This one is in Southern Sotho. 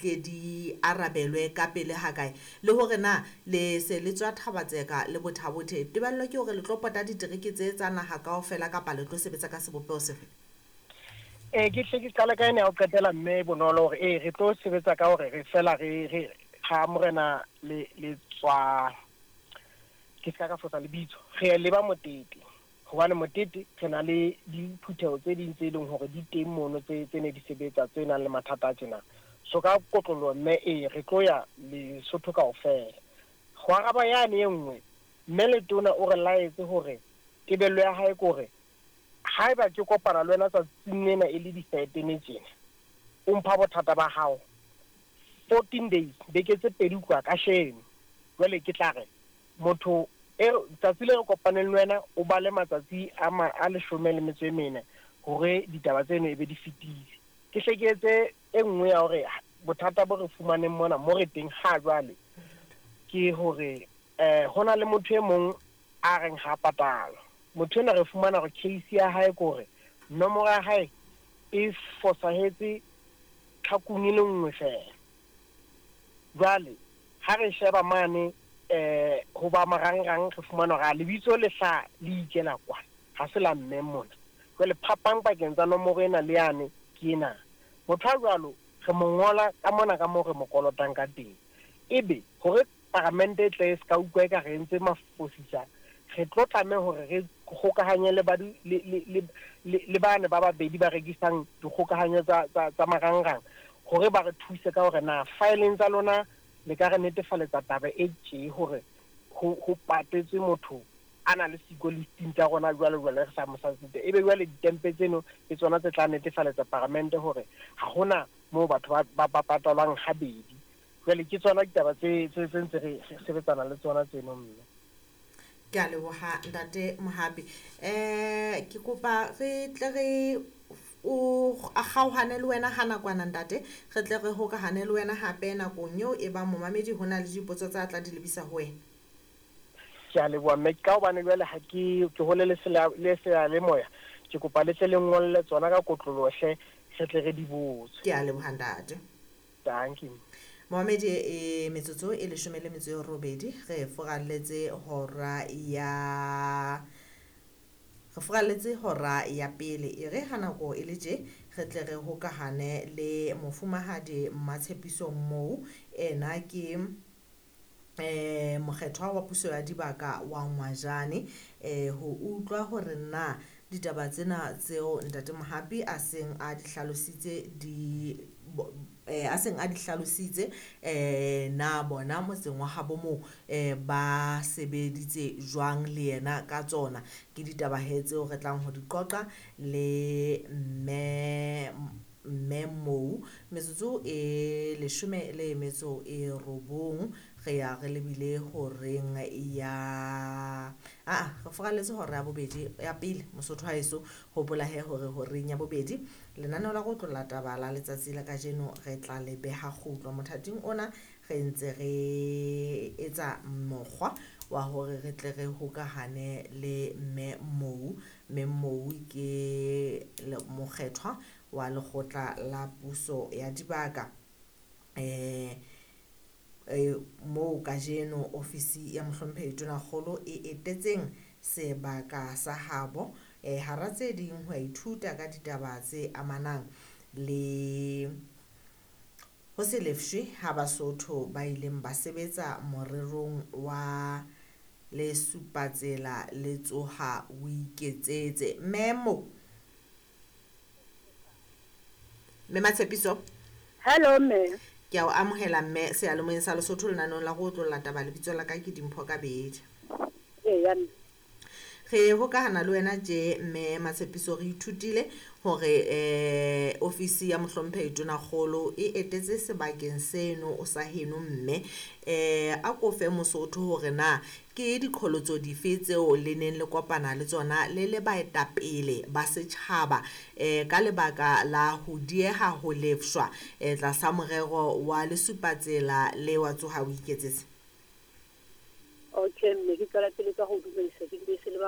Tle di arabelwe ka pele hakae? Le hore na le se le tswa Thaba-Tseka le Botha-Bothe, tebello ke hore le tlo pota ditereke tse tsa naha kaofela kapa le tlo sebetsa ka sebopeho sefe? Ee, ke hle ke qale ka ena ya ho qetela mme Bonolo hore ee re tlo sebetsa ka hore re fela re re ga morena le le tswa ke ska ka fosa lebitso re leba Motete. Hobane motete re na le diphutheho tse ding tse leng hore di teng mono tse tse ne di sebetsa tse nang le mathata a tjena. So ka kotloloho mme ee re tlo ya Lesotho kaofela. Ho araba yane e nngwe, mme Letona o re laetse hore tebello ya hae ke hore haeba ke kopana le wena tsatsing lena e le di-thirteen tjena, o mpha bothata ba hao 14 days, beke tse pedi ho tloha kasheno. Jwale ke tla re Motho e, tsatsi le re kopaneng le wena, o bale matsatsi a ma, a leshome le metso e mene hore ditaba tseno e be di fetile. Ke hle ke etse e nngwe ya hore bothata bo re fumaneng mona mo re teng ha jwale ke hore eh, ho na le motho e mong a reng ha patalwa. Motho enwa re fumana hore case ya hae ke hore nomoro ya hae e fosahetse tlhakung e le nngwe feela. Jwale ha re sheba mane ho ba marangrang re fumana hore a lebitso le hla le ikela kwa, ha se la mme mona. Jwale phapang pakeng tsa nomoro ena le yane ke ena. Motho a jwalo re mo ngola ka mona ka moo re mo kolotang ka teng. Ebe hore paramente e tle e ska utlwa eka re entse mafosisa, re tlo tlameha hore re kgokahanye le ba le, le, le, le, le bane ba babedi ba rekisang dikgokahanyo tsa, tsa, tsa marangrang hore ba re thuse ka hore na faeleng tsa lona le ka re netefaletsa taba e tje hore ho, ho patetswe motho a na le siko listing tsa rona jwalo jwale re sa mo sa site. Ebe jwale ditempe tseno ke tsona tse tla netefaletsa paramente hore ha hona moo batho ba, ba, ba patalwang habedi. Jwale ke tsona ditaba tse, tse, tse ntse re, re sebetsana le tsona tseno mme. Ke a leboha ntate Mohapi. Ke kopa re tle re o a kgaohane le wena ha nakwana ntate, re tle re hokahane le wena hape nakong eo e bang momamedi ho na le dipotso tsa tla di lebisa ho wena. Ke a leboha mme, ka hobane jwale ha ke ke hole le le seyalemoya, ke kopa le tle le ngolle tsona ka kotloloho hle, re tle re di botse. Ke a leboha ntate. Dankie. Momamedi e metsotso e leshome le metso e robedi re furalletse hora ya re furalletse hora ya pele e re ha nako e le tje re tle re hokahane le mofumahadi Mmatshepiso Mou ena ke mokgethwa wa puso ya dibaka wa Ngwajane ho utlwa hore na ditaba tsena tseo ntate Mohapi a seng a di hlalositse di a seng a di hlalositse na bona motseng wa habo moo ba sebeditse jwang le yena ka tsona. Ke ditaba he tseo re tlang ho di qoqa le mme mme Mou metsotso e leshome le metso e robong re ya re lebile horeng ya aa re furalletse hora ya bobedi ya pele Mosotho wa heso hopola he hore horeng ya bobedi lenaneo la go tlolla taba la letsatsi la kajeno re tla le beha kgutlo mothating ona re ntse re etsa mokgwa wa hore re tle re hokahane le mme Mou. Mme Mou ke mokgethwa wa lekgotla la puso ya dibaka moo kajeno ofisi ya mohlomphehi Tonakgolo e etetseng sebaka sa habo hara tse ding ho ithuta ka ditaba tse amanang le ho se lefshwe ha Basotho ba ileng ba sebetsa morerong wa Lesupatsela le tsoha o iketsetse. Mme Mou, mme Matshepiso. Hello mme. Ke a o amohela mme seyalemoyeng sa Lesotho lenaneong la go otlolla taba. Lebitso la ka ke Dimpho Kabedi. Eya mme. Re hokahana le wena tje mme Matshepiso re ithutile hore ofisi ya mohlomphehi Tonakgolo e etetse sebakeng seno o sa heno mme a ko fe Mosotho hore na ke diqholotso dife tseo le neng le kopana le tsona le le baetapele ba setjhaba ka lebaka la ho dieha ho lefshwa tlasa morero wa Lesupatsela le wa tsoha o iketsetse. Okay mme, ke tswela pele ka ho dumedisa ke dumedise le ba